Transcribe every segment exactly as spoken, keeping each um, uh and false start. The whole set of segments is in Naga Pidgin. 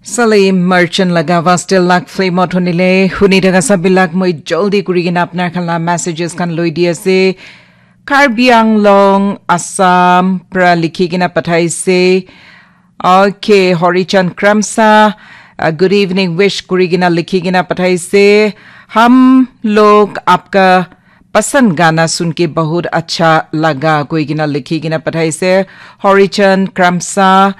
Salim Merchant laga Vastel Lak Flame out honile huni daga sabilak moi joldi kuri kena apnar khan la messages khan loi di ase. Karbi Anglong, Assam pra likhi kena pathaise. Okay, Horichan Kramsa, uh, good evening wish kuri kena likhi kena pathaise. Hum log aapka pasand gana sun ke bahut acha laga koi kena likhi kena pathaise. Horichan Kramsa,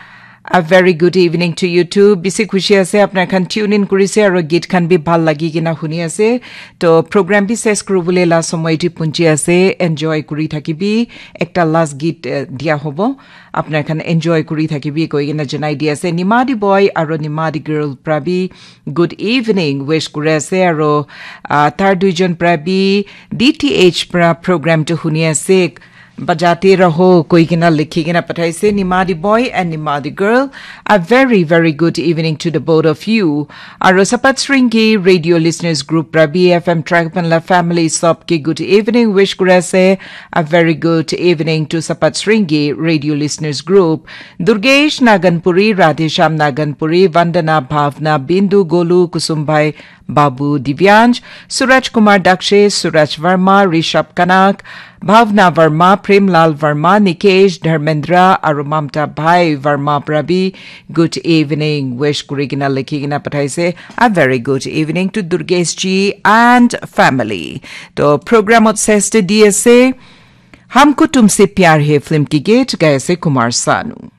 a very good evening to you too. Bisi khushi ase apnar khan tune in kurise aro git khan bi bhal lagi kena huni ase. To program bi ses kuribole la somoy ti punchi ase. Enjoy kuri thakibi. Ekta last git, eh, dia hobo. Apnar khan enjoy kuri thakibi koi kena janai di ase. Nimadi boy aro Nimadi girl pra bi good evening wish kuri ase aro, ah, tar duijon pra bi D T H pra program to huni ase. Bajate raho koi kena likhi kena pathaise. Nimadi boy and Nimadi girl, a very, very good evening to the both of you. Aro Sapat Sringi Radio Listeners Group pra bi F M Trackpan la family sob ke good evening wish kuri ase. A very good evening to Sapat Sringi Radio Listeners Group. Durgesh Naganpuri, Radhesham Naganpuri, Vandana, Bhavna, Bindu, Golu, Kusumbai, Babu, Divyansh, Suraj Kumar Dakshe, Suraj Verma, Rishabh Kanak, Bhavna Verma, Premlal Verma, Nikesh, Dharmendra, aro Mamta Bhai Verma pra bi good evening wish kuri kena likhi kena pathaise. A very good evening to Durgesh ji and family. To program ot ses te di ase. Humko Tumse Pyar Hai film ki git gai ase Kumar Sanu.